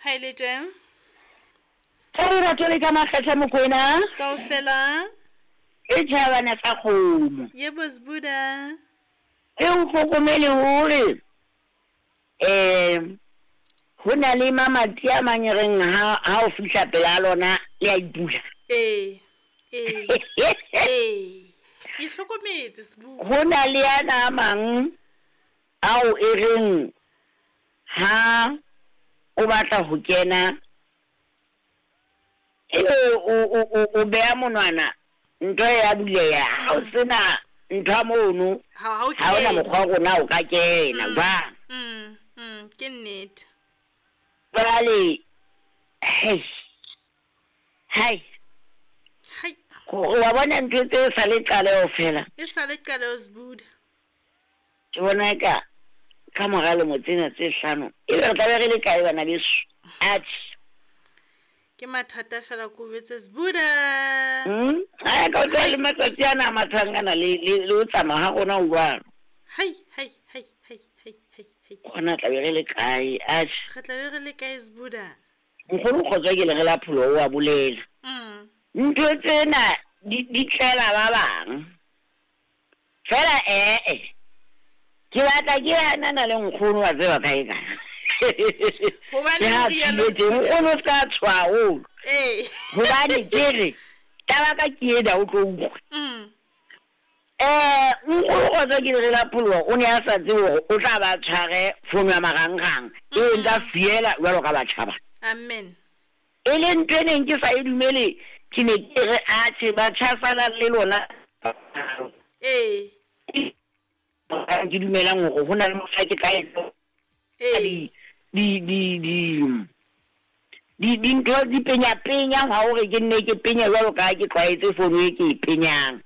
Ha e le teng. Ka lerato le ka makgetha Mokwena. Kaofela. E tjhabana sa kgomo. Yebo Sbuda. E o hlokomele hore um ho na le mamati a mang e reng ha ha o fihla pela lona le a ipula. Ee. Ee. Ee. Ke hlokometse Sbuda. Ho na le ana a mang ao e reng ha o batla ho kena ebe o beha monwana ntho ya buleha ha o sena ntho ya mono ha ona mokgwa wa rona o ka kena jwang. Ke nnete. Jwale hei hai Hai. Wa bona ntho tse sa le qaleho fela. E sa le qaleho Sbuda. Ke bona eka ka mora lemo tsena tse hlano ebe re tlabe re le kae bana beso? Atjhe. Ke mathata fela ko betse Sbuda. Ai ka utlwa le matsatsi ana a mathang ana le le le ho tsamaya ha rona ho jwalo. Hai hai hai hai hai hai hai. Gona tlabe re le kae? Atjhe. Re tlabe re le kae Sbuda? Nkgono Kgotso ke le re la pholo o a bolela. Ntho tsena di di tlela ba bang. Fela ee, ke batla ke hanana le nkgono wa tseba kae ka. Hobane Ke ha o rialo thibetse, nkgono o ska tshoha haholo. Ee. Hobane ke re taba ka ke ena o tlo utlwa. Nkgono Kgotso ke le la pholoha o ne a sa tsebe hore o tla ba tshware fono ya marangrang e ntsa fiela jwalo ka batjha ba. Amen. E le ntho e neng ke sa e dumele, ke ne ke re atjhe batjha salang le lona. Ee. Ke dumelang hore ho na le mohla ke tla etsa Ee. di di di di dintho di penya penya ha hore ke nne ke penya jwalo ka ha ke tlwaetse fono e ke e penyang.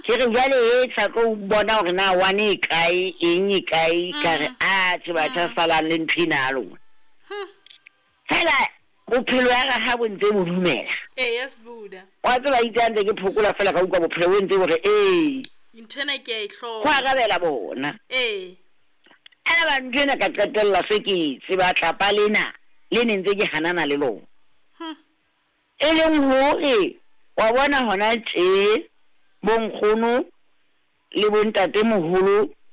Ke re jwale e sa tlo bona hore na one e kae eng e kae ka re atjhe batjha salang le ntho ena ya lona. Fela bophelo ya re ha bo ntse bo dumela. Ee, Sbuda. Wa tseba itse ha ntse ke phokola fela ka utlwa bophelo bo ntse bo re ee. Ntho ena ke a e Ho hloka. arabela bona. Ee. Aba ntho ena ka qetella se ke tseba tlapa lena le ne ntse ke hanana le lona. E leng hore wa bona hona tje bo nkgono le bo ntatemoholo